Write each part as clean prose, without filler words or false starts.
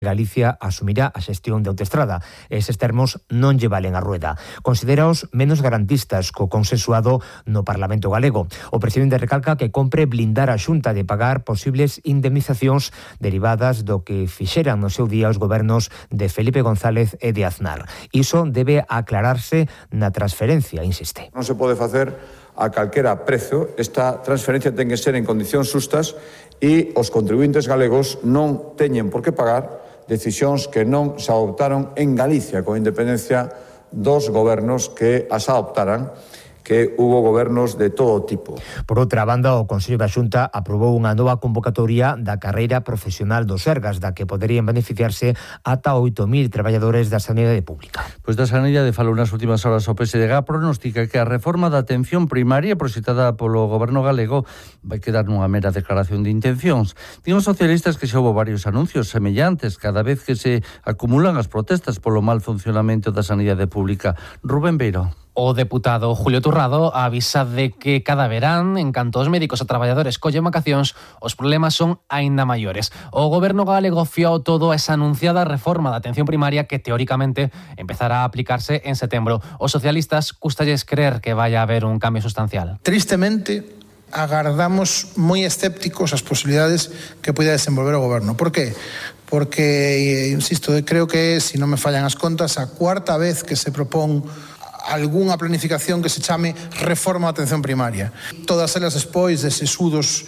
Galicia asumirá a xestión de autoestrada. Eses termos non lle valen a Rueda. Considéraos menos garantistas co consensuado no Parlamento galego. O presidente recalca que compre blindar a Xunta de pagar posibles indemnizacións derivadas do que fixeran no seu día os gobernos de Felipe González e de Aznar. Iso debe aclararse na transferencia, insiste. Non se pode facer a calquera prezo. Esta transferencia ten que ser en condicións xustas e os contribuintes galegos non teñen por que pagar decisións que non se adoptaron en Galicia, con independencia dos gobernos que as adoptaran, que hubo gobernos de todo tipo. Por outra banda, o Consello da Xunta aprobou unha nova convocatoria da carreira profesional dos Sergas, da que poderían beneficiarse ata 8.000 traballadores da sanidade pública. Pois da sanidade falou nas últimas horas o PSDG, pronostica que a reforma da atención primaria proxectada polo goberno galego vai quedar nunha mera declaración de intencións. Din os socialistas que xa houve varios anuncios semellantes cada vez que se acumulan as protestas polo mal funcionamento da sanidade pública. Rubén Beiro. O deputado Julio Turrado avisa de que cada verán, en canto os médicos e traballadores collen vacacións, os problemas son aínda maiores. O goberno galego fiou todo a esa anunciada reforma da atención primaria que teóricamente empezará a aplicarse en setembro. Os socialistas custalles creer que vai a haber un cambio sustancial. Tristemente, agardamos moi escépticos as posibilidades que poida desenvolver o goberno. Por qué? Porque, insisto, creo que, se non me fallan as contas, a cuarta vez que se propón algunha planificación que se chame reforma da atención primaria. Todas elas despois de sesudos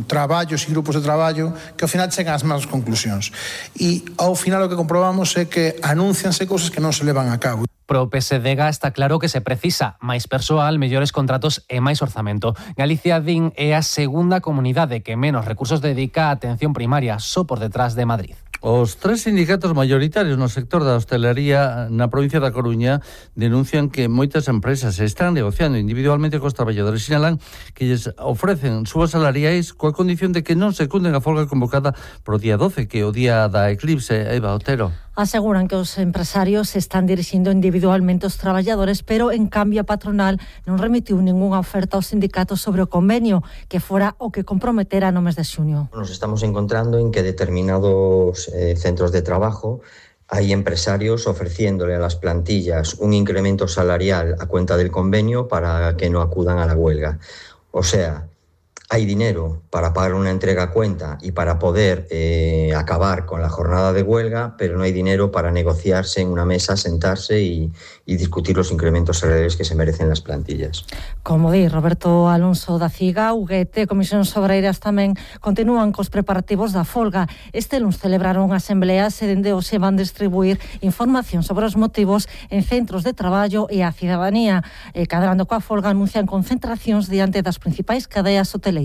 traballos e grupos de traballo que ao final chegan ás mesmas conclusións. E ao final o que comprobamos é que anuncianse cousas que non se levan a cabo. Pro PSDG está claro que se precisa máis persoal, mellores contratos e máis orzamento. Galicia, din, é a segunda comunidade que menos recursos dedica á atención primaria, só por detrás de Madrid. Os tres sindicatos maioritarios no sector da hostelería na provincia da Coruña denuncian que moitas empresas están negociando individualmente cos traballadores, sinalan que lles ofrecen subas salariais coa condición de que non secunden a folga convocada pro día 12, que é o día da eclipse. Eva Otero. Aseguran que os empresarios están dirixindo individualmente os traballadores, pero en cambio a patronal non remitiu ningunha oferta aos sindicatos sobre o convenio que fora o que comprometera no mes de xuño. Nos estamos encontrando en que determinados centros de trabajo hay empresarios ofreciéndole a las plantillas un incremento salarial a cuenta del convenio para que no acudan a la huelga. O sea, hay dinero para pagar una entrega a cuenta y para poder acabar con la jornada de huelga, pero no hay dinero para negociarse en una mesa, sentarse y discutir los incrementos salariales que se merecen las plantillas. Como di Roberto Alonso da CIGA, UGT e Comisións Obreiras tamén continúan cos preparativos da folga. Este luns celebraron asembleas e dende hoxe van distribuir información sobre os motivos en centros de traballo e a cidadanía. Cadrando coa folga anuncian concentracións diante das principais cadeas hoteleiras.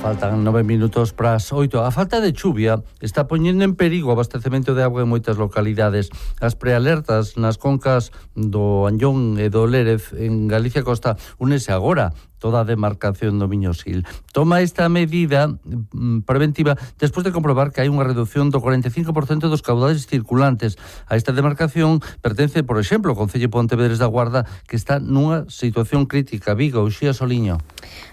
Faltan 9 minutos para as 8. A falta de chuvia está poñendo en perigo o abastecemento de auga en moitas localidades. As prealertas nas concas do Anllón e do Lérez en Galicia Costa únese agora toda a demarcación do Miño-Sil. Toma esta medida preventiva despois de comprobar que hai unha reducción do 45% dos caudales circulantes. A esta demarcación pertence, por exemplo, o Concello de Pontevedres da Guarda, que está nunha situación crítica. Vigo, Uxía Soliño.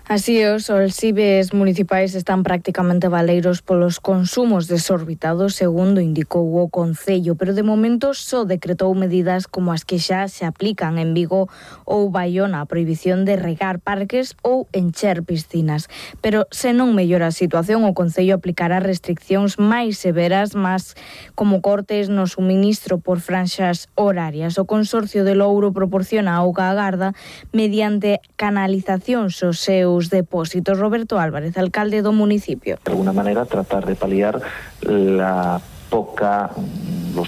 Así os olsibes municipais están prácticamente baleiros polos consumos desorbitados, segundo indicou o Concello, pero de momento só decretou medidas como as que xa se aplican en Vigo ou Baiona, a prohibición de regar parques ou encher piscinas. Pero se non mellora a situación, o Concello aplicará restriccións máis severas, máis como cortes no suministro por franxas horarias. O Consorcio de Louro proporciona auga á Garda mediante canalizacións aos seus depósitos. Roberto Álvarez, alcalde do municipio. De alguna manera tratar de paliar los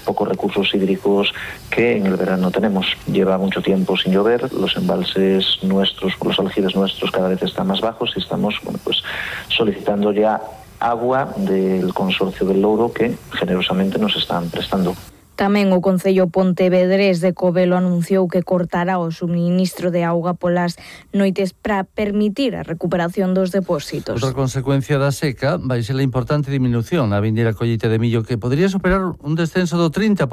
pocos recursos hídricos que en el verano tenemos. Lleva mucho tiempo sin llover, los embalses nuestros, los aljibes nuestros cada vez están más bajos y estamos solicitando ya agua del Consorcio del Louro que generosamente nos están prestando. Tamén o Concello Pontevedrés de Covelo anunciou que cortará o suministro de auga polas noites para permitir a recuperación dos depósitos. Outra consecuencia da seca vai ser a importante diminución na vindeira colleita de millo, que podría superar un descenso do 30%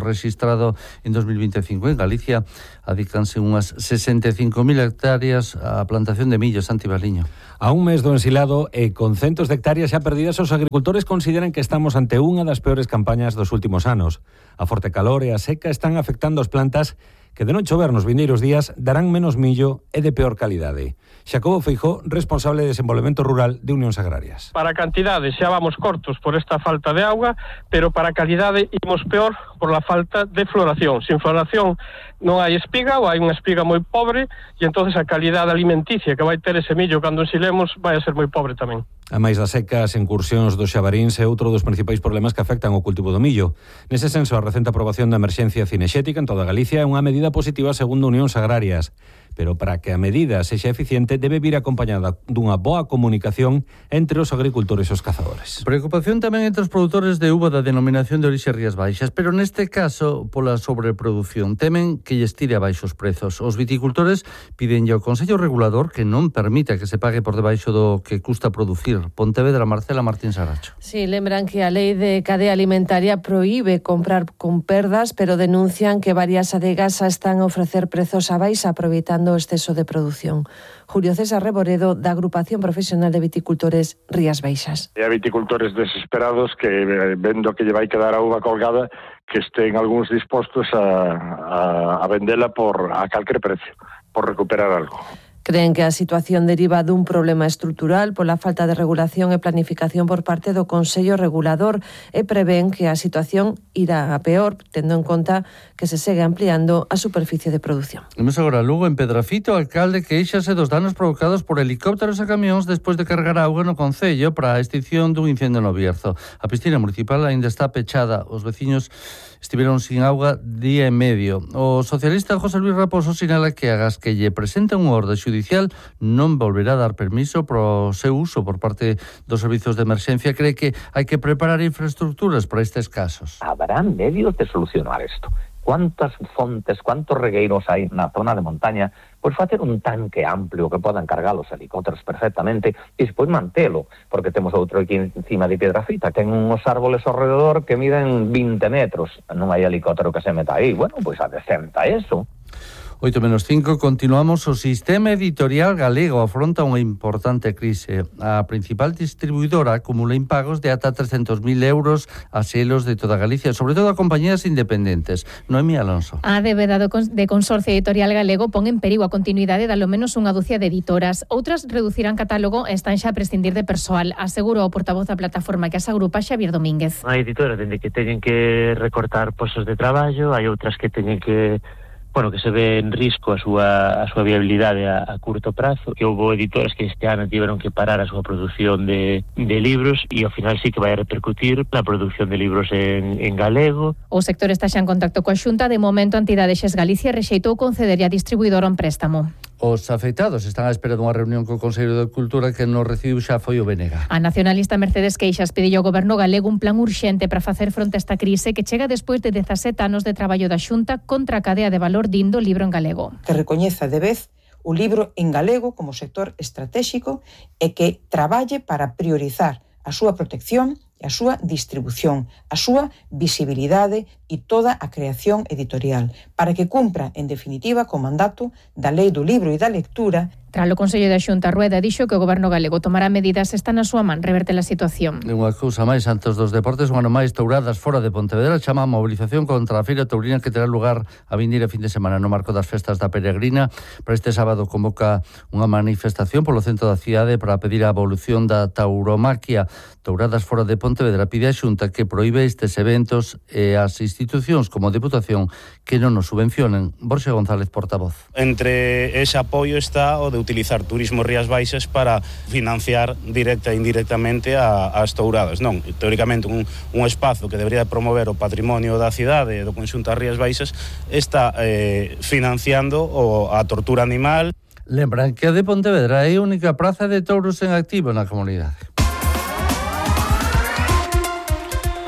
rexistrado en 2025. En Galicia adícanse unhas 65.000 hectáreas á plantación de millo. Santi Baliño. A un mes do ensilado e con centos de hectáreas xa perdidas, os agricultores consideran que estamos ante unha das peores campañas dos últimos anos. A forte calor e a seca están afectando as plantas que de non chover nos vindeiros días darán menos millo e de peor calidade. Xacobo Feijó, responsable de desenvolvemento rural de Unións Agrarias. Para a cantidade xa vamos cortos por esta falta de auga, pero para a calidade imos peor por la falta de floración. Sin floración non hai espiga ou hai unha espiga moi pobre e entonces a calidade alimenticia que vai ter ese millo cando ensilemos vai a ser moi pobre tamén. A máis das secas, incursións dos xabaríns é outro dos principais problemas que afectan o cultivo do millo. Nese senso, a recente aprobación da emerxencia cinexética en toda Galicia é unha medida positiva segundo Unións Agrarias. Pero para que a medida sexa eficiente debe vir acompañada dunha boa comunicación entre os agricultores e os cazadores. Preocupación tamén entre os produtores de uva da denominación de orixe Rías Baixas, pero neste caso pola sobreproducción. Temen que lles tire abaixo os prezos. Os viticultores piden ao Consello Regulador que non permita que se pague por debaixo do que custa producir. Pontevedra, Marcela Martín Saracho. Sí, lembran que a lei de cadea alimentaria proíbe comprar con perdas, pero denuncian que varias adegas están a ofrecer prezos abaixo aproveitando o exceso de produción. Julio César Reboredo, da Agrupación Profesional de Viticultores Rías Baixas. E a viticultores desesperados que, vendo que lle vai quedar a uva colgada, que estén algúns dispostos a vendela por a calquer precio, por recuperar algo. Creen que a situación deriva dun problema estrutural pola falta de regulación e planificación por parte do Consello Regulador e prevén que a situación irá a peor, tendo en conta que se segue ampliando a superficie de produción. Vemos agora Lugo, en Pedrafito, o alcalde queixase dos danos provocados por helicópteros e camións despois de cargar auga no Concello para a extinción dun incendio no Bierzo. A piscina municipal aínda está pechada. Os veciños estiveron sin auga día e medio. O socialista José Luis Raposo sinala que agas que lle presenta un orde judicial non volverá a dar permiso pro seu uso por parte dos servizos de emerxencia. Cree que hai que preparar infraestructuras para estes casos. Habrá medios de solucionar isto. Cuántas fontes, cuántos regueiros hai na zona de montaña, pois facer un tanque amplio que podan cargar os helicópteros perfectamente e despois mantelo, porque temos outro aquí encima de Piedrafita, ten uns árboles ao redor que miden 20 metros, non hai helicóptero que se meta aí, bueno, pois adecenta eso. 8:05, continuamos. O sistema editorial galego afronta unha importante crise. A principal distribuidora acumula impagos de ata 300.000 euros a selos de toda Galicia, sobre todo a compañías independentes. Noemí Alonso. A débeda de Consorcio Editorial Galego pon en perigo a continuidade de alo menos unha ducia de editoras. Outras reducirán catálogo e están xa a prescindir de persoal, asegurou o portavoz da plataforma que as agrupa, Xavier Domínguez. Hai editoras dende que teñen que recortar postos de traballo, hai outras que teñen que se ve en risco a súa viabilidade a curto prazo, que houve editoras que este ano tiveron que parar a súa produción de libros e ao final sí que vai a repercutir na produción de libros en galego. O sector está xa en contacto coa Xunta. De momento, a entidade Xes Galicia rexeitou concederlle a distribuidora un préstamo. Os afectados están á espera dunha reunión co Consello de Cultura que non recibiu xa foi o BNG. A nacionalista Mercedes Queixas pediu ao Goberno galego un plan urxente para facer fronte a esta crise que chega despois de 17 anos de traballo da Xunta contra a cadea de valor dindo libro en galego. Que recoñeza de vez o libro en galego como sector estratégico e que traballe para priorizar a súa protección e a súa distribución, a súa visibilidade e toda a creación editorial, para que cumpra, en definitiva, co mandato da Lei do Libro e da Lectura. Tras o Consello da Xunta, Rueda dixo que o Goberno galego tomará medidas, está na súa man reverter a situación. Unha cousa máis antes dos deportes, un ano máis Touradas fora de Pontevedra chama a mobilización contra a Feira Taurina que terá lugar a vindeira fin de semana no marco das festas da Peregrina. Para este sábado convoca unha manifestación polo centro da cidade para pedir a abolición da tauromaquia. Touradas fora de Pontevedra pide a Xunta que proíbe estes eventos e as institucións como a Deputación que non nos subvencionen. Borxe González, portavoz. Entre ese apoio está o de utilizar Turismo Rías Baixas para financiar directa e indirectamente as touradas. Non, teóricamente un espazo que debería promover o patrimonio da cidade e do conxunto das Rías Baixas está financiando a tortura animal. Lembran que a de Pontevedra é a única praza de touros en activo na comunidade.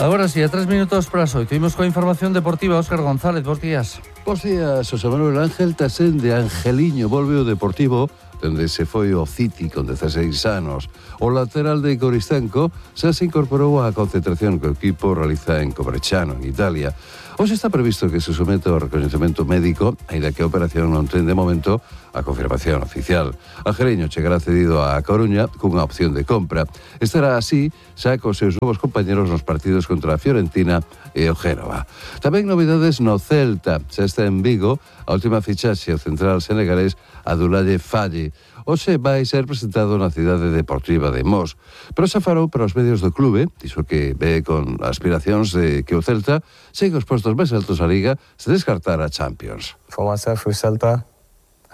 Agora sí, a 3 minutos para as 8. Imos coa información deportiva. Óscar González, bons días. Bos días, José Manuel. Ángel Tasén de Angeliño volve o Deportivo donde se foi o City con 16 anos. O lateral de Coristenco xa se incorporou á concentración que o equipo realiza en Coverciano, en Italia. Hoxe está previsto que se someta ao recoñecemento médico, aínda que a operación non ten de momento a confirmación oficial. Algereño chegará cedido a Coruña cunha opción de compra. Estará así xa cos seus novos compañeros nos partidos contra a Fiorentina e o Génova. Tamén novidades no Celta. Xa está en Vigo a última fichaxe ao central senegalés Abdoulaye Faye. Hoxe vai ser presentado na cidade deportiva de Mos. Pero xa farou para os medios do clube, dixo que ve con aspiracións de que o Celta chegue aos postos máis altos da Liga se descartar a Champions. For myself with Celta,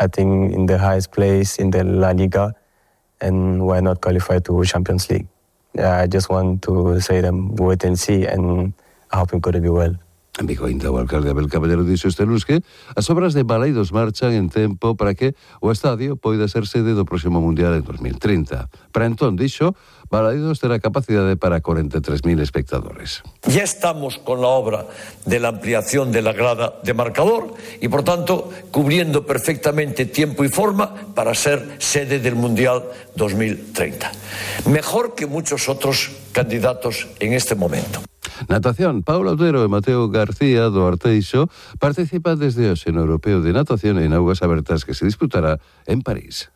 I think in the highest place in the La Liga, and why not qualify to Champions League? I just want to say them wait and see, and I hope it's going to be well. En Vigo ainda o alcalde Abel Caballero dixo este lunes que as obras de Baleidos marchan en tempo para que o estadio poida ser sede do próximo Mundial en 2030. Para entón, dixo, Baleidos terá capacidade para 43.000 espectadores. Ya estamos con la obra de la ampliación de la grada de marcador y, por tanto, cubriendo perfectamente tiempo y forma para ser sede del Mundial 2030. Mejor que muchos otros candidatos en este momento. Natación, Paula Otero e Mateo García do Arteixo participan desde hoxe no Europeo de Natación en augas abertas que se disputará en París.